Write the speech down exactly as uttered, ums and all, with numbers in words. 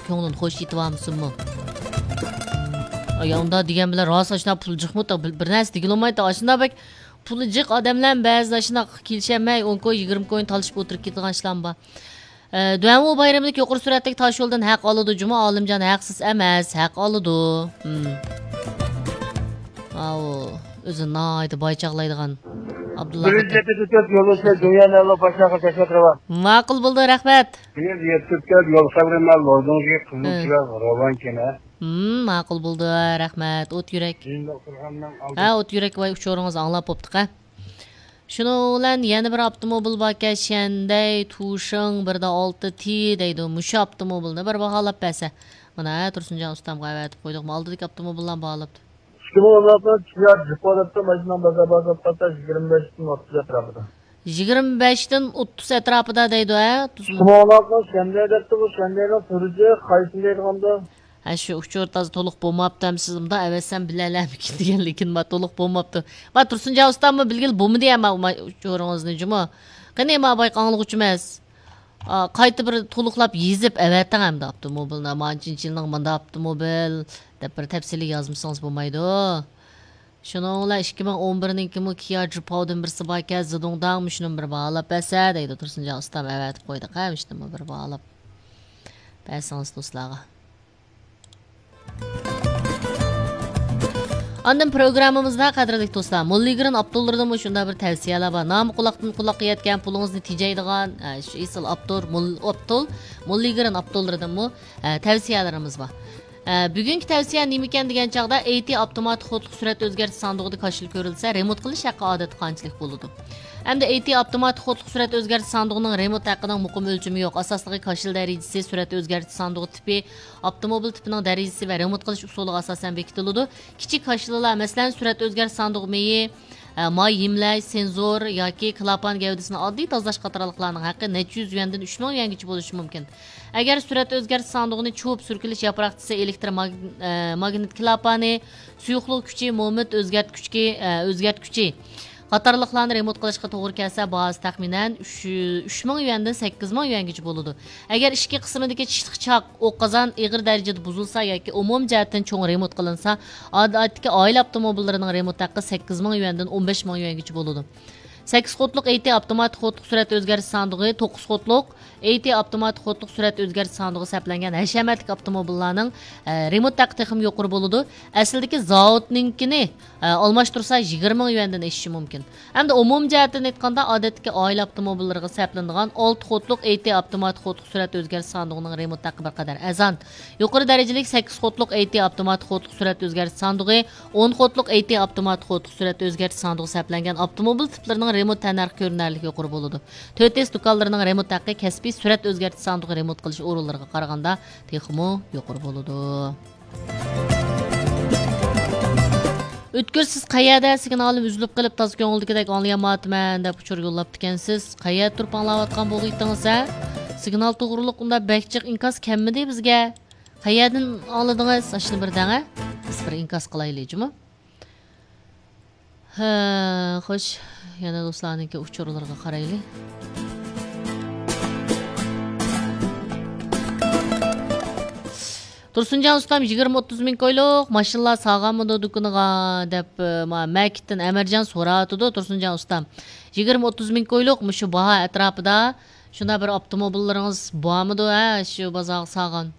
كۆڭلۈڭ خوش يېتىۋالمىسۇنمۇ؟ ئاي، ئۇنداق دېگەن بىلەن راست ئاشۇنداق پۇل جىقمۇ؟ بىر، بىر نەرسە دېگىلى بولمايدۇ. ئاشۇنداق بەك پۇلى جىق ئادەملەرمۇ بەزىدە ئاشۇنداق كېلىشەلمەي، ئون كوي، يىگىرمە كوينى تالىشىپ ئولتۇرۇپ كېتىدىغان ئىشلارمۇ بار. ئە، دۈەنۋۇ بايرىمىدىكى يۇقىرى سۈرئەتلىك تاشيولدىن ھەق ئالىدۇ جۇمۇ، ئالىمجان ھەقسىز ئەمەس، ھەق ئالىدۇ. ھىم. ئاۋۇ، ئۆزى ناھايىتى باي چاغلايدىغان ئابدۇللا بىرىنچى خوتۇن. ئېپىزود يولۇچى دۇنيا نەۋلا باشلاققا تەشەككۈر. ماقۇل بولدى، رەھمەت. بىز يەتكۈزگەن يول خەۋىرىنى لوزۇڭجى قىزىل ھە. چىراغ راۋان كېمە. ھىم، ماقۇل بولدى، رەھمەت. ئوت يۈرەك. ھە، ئوت يۈرەك، ۋاي، ئۇچۇرىڭىزنى ئاڭلاپ بوپتۇق، ھە. شۇنىڭ بىلەن يەنە بىر ئاپتوموبىل باركەن، شەندەي تۇشىڭ بىر دە ئالتە تى دەيدۇ. مۇشۇ ئاپتوموبىلنى بىر باھالاپ بەرسە. مانا، ھە، تۇرسۇنجان ئۇستامغا ئەۋەتىپ قويدۇق. ئالدىدىكى ئاپتوموبىللارنى باھالاپتۇ. ئىككى مىڭ ئون ئالتىنچى يىل جىپو دەپتۇ، ماشىنىنىڭ بازار باھاسى پاتتا يىگىرمە بەشتىن ئوتتۇز ئەتراپىدا. يىگىرمە بەشتىن ئوتتۇز ئەتراپىدا دەيدۇ، ھە؟ ئىككى مىڭ ئون ئالتىنچى شەندەي دەپتۇ، بۇ شەندەينىڭ سۈرۈجى قايسىنى دەيدىغاندۇ؟ ھە، شۇ ئۇچۇر تازا تولۇق بولماپتۇ، ھەم سىز مۇنداق ئەۋەتسەم بىلەلەمىكىن دېگەن، لېكىن ما تولۇق بولماپتۇ. ما تۇرسۇنجان ئۇستاممۇ بىلگىلى بولمىدى، ھە، ما، ما ئۇچۇرىڭىزنى جۇمۇ. قېنى، ما بايقى ئاڭلىغۇچىمىز. ئا، قايتا بىر تولۇقلاپ يېزىپ ئەۋەتىڭ ئەمدى ئاپتوموبىلنى. مانچىنچى يىلنىڭ مانداق ئاپتوموبىل دەپ بىر تەپسىلىي يازمىسىڭىز بولمايدۇ. شۇنىڭ بىلەن ئىككى مىڭ ئون بىرنىڭكىمۇ كىيا جىپاودىن بىرسى باركەن، زىدۇڭداڭ، مۇشۇنىمۇ بىر باھالاپ بەرسە دەيدۇ تۇرسۇنجان ئۇستام، ئەۋەتىپ قويدۇق ھە، مۇشۇنىمۇ بىر باھالاپ بەرسىڭىز دوستلارغا. ئاندىن پروگراممىمىزدا، قەدىرلىك دوستلار، موللىگرېن ئاپتوللىرىدىنمۇ شۇنداق بىر تەۋسىيەلەر بار. نامى قۇلاقتىن قۇلاققا يەتكەن، پۇلىڭىزنى تېجەيدىغان، ئە، شۇ ئېسىل ئاپتور، مول-، ئاپتول، موللىگرېن ئاپتوللىرىدىنمۇ، ئە، تەۋسىيەلىرىمىز بار. ئە، بۈگۈنكى تەۋسىيە نېمىكەن دېگەن چاغدا، ئەي تى ئاپتوماتىك قۇدلۇق سۈرئەت ئۆزگەرتىش ساندۇقىدا كاشىلا كۆرۈلسە، رېمونت قىلىش ھەققى ئادەتتە قانچىلىك بولىدۇ؟ ئەمدى ئەي تى ئاپتوماتىك قۇدلۇق سۈرئەت ئۆزگەرتىش ساندۇقىنىڭ رېمونت ھەققىنىڭ مۇقىم ئۆلچىمى يوق. ئاساسلىقى كاشىلا دەرىجىسى، سۈرئەت ئۆزگەرتىش ساندۇقى تىپى، ئاپتوموبىل تىپىنىڭ دەرىجىسى ۋە رېمونت قىلىش ئۇسۇلىغا ئاساسەن بېكىتىلىدۇ. كىچىك كاشىلىلار، مەسىلەن، سۈرئەت ئۆزگەرتىش ساندۇقى مېيى، ئە، ماي ھىملەش، سېنزور ياكى كلاپان گەۋدىسىنى ئاددىي تازىلاش قاتارلىقلارنىڭ ھەققى نەچچە يۈز يۈەندىن ئۈچ مىڭ يۈەنگىچە بولۇشى مۇمكىن. ئەگەر سۈرئەت ئۆزگەرتىش ساندۇقىنى چۇۋۇپ سۈركىلىش ياپراقچىسى، ئېلېكتر ماگ-، ئە، ماگنىت كلاپانى، سۇيۇقلۇق كۈچى، مومېنت ئۆزگەرتكۈچى، ئە، ئۆزگەرتكۈچى قاتارلىقلارنى رېمونت قىلىشقا توغرا كەلسە، باھاسى تەخمىنەن ئۈچ، ئۈچ مىڭ يۈەندىن سەككىز مىڭ يۈەنگىچە بولىدۇ. ئەگەر ئىچكى قىسمىدىكى چىشلىق چاق، ئوق قازان ئېغىر دەرىجىدە بۇزۇلسا ياكى ئومۇمىي جەھەتتىن چوڭ رېمونت قىلىنسا، ئادەتتىكى ئائىلە ئاپتوموبىللىرىنىڭ رېمونت ھەققى سەككىز مىڭ يۈەندىن ئون بەش مىڭ يۈەنگىچە بولىدۇ. سەككىز قۇتلۇق ئەي تى ئاپتوماتىك قۇتلۇق سۈرئەت ئۆزگەرتىش ساندۇقى، توققۇز قۇتلۇق ئەي تى ئاپتوماتىك قۇتلۇق سۈرئەت ئۆزگەرتىش ساندۇقى سەپلەنگەن ھەشەمەتلىك ئاپتوموبىللارنىڭ، ئە، رېمونت ھەققى تېخىمۇ يۇقىرى بولىدۇ. ئەسلىدىكى زاۋۇتنىڭكىنى، ئە، ئالماشتۇرسا يىگىرمە مىڭ يۈەندىن ئېشىشى مۇمكىن. ئەمدى ئومۇمىي جەھەتتىن ئېيتقاندا، ئادەتتىكى ئائىلە ئاپتوموبىللىرىغا سەپلىنىدىغان ئالتە قۇتلۇق ئەي تى ئاپتوماتىك قۇتلۇق سۈرئەت ئۆزگەرتىش ساندۇقىنىڭ رېمونت ھەققى بىر قەدەر ئەرزان. يۇقىرى دەرىجىلىك سەككىز قۇتلۇق ئەي تى ئاپتوماتىك قۇتلۇق سۈرئەت ئۆزگەرتىش ساندۇقى، ئون قۇتلۇق ئەي تى ئاپتوماتىك قۇتلۇق سۈرئەت ئۆزگەرتىش ساندۇقى سەپلەنگەن ئاپتوموبىل تىپلىرىنىڭ رېمونت تەننەرخى كۆرۈنەرلىك يۇقىرى بولىدۇ. تۆت ئېس دۇكانلىرىنىڭ رېمونت ھەققى كەسپىي سۈرئەت ئۆزگەرتىش ساندۇقى رېمونت قىلىش ئورۇنلىرىغا قارىغاندا تېخىمۇ يۇقىرى بولىدۇ. ئۆتكۈر، سىز قەيەردە؟ سىگنالىم ئۈزۈلۈپ قېلىپ، تازا كۆڭۈلدىكىدەك ئاڭلىيالمايۋاتىمەن دەپ ئۇچۇر يوللاپتىكەنسىز. قەيەردە تۇرۇپ ئاڭلاۋاتقان بولغىيتىڭىز، ھە؟ سىگنال توغرۇلۇق ئۇنداق بەك جىق ئىنكاس كەلمىدى بىزگە. قەيەردىن ئاڭلىدىڭىز؟ ئاشۇنى بىر دەڭە. بىز بىر ئىنكاس قىلايلى جۇمۇ. ھە، خوش، يەنە دوستلارنىڭكى ئۇچۇرلىرىغا قارايلى. تۇرسۇنجان ئۇستام، يىگىرمە ئوتتۇز مىڭ كويلۇق ماشىنىلار سالغانمىدۇ دۇكىنىغا دەپ، ما، مەكىتتىن ئەمەرجان سوراۋاتىدۇ. تۇرسۇنجان ئۇستام، يىگىرمە ئوتتۇز مىڭ كويلۇق مۇشۇ باھا ئەتراپىدا شۇنداق بىر ئاپتوموبىللىرىڭىز بارمىدۇ، ھە، شۇ بازارغا سالغان؟